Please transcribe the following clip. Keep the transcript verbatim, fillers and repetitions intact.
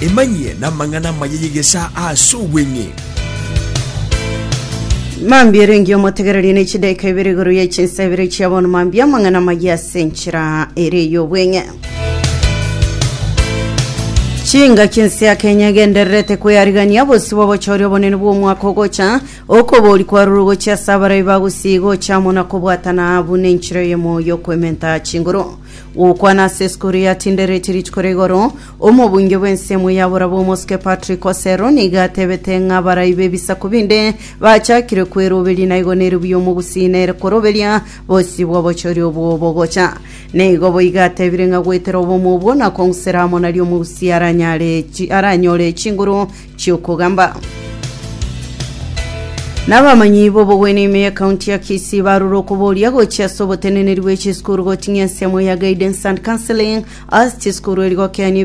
Emanyie namang'ana amaya y'egesaa ase obweng'e. Mambia erenge omotegereria ne chidaika ibere igoro ya chinsa ibere chia bono mambia amang'ana maya ase enchera ere y'obweng'e. Chingaki ense ya Kenya egendererete kweyarigania bosi bw'obochori obonene bw'omwaka ogocha okobori kwarure gochia ase abarai bagusii gocha amo na kobwatana buna enchera eyemo y'okoementa chinguru. Gokwana ase esukuru ya Tindereti rituko ria igoro, omobunge bw'ensemo ya Borabwo omosike Patrick Osero nigo atebete ng'a abarai b'ebisaku binde bachakire kweroberia na igo nere buya omogusii nere koroberia bosi bw'obochori obwo bogocha. Nigo boigo atebire ng'a goetera obomo obwo na kong'usera amo nario omogusii aranyare chi- aranyore chinguru chi'okogamba. Nabamanyi b'obogwenia ime y'ekaunti ya Kisii barure okoboria gochia ase oboteneneri bwe chisukuru goting'ia ensemo ya guidance and counseling ase chisukuru eri gokeania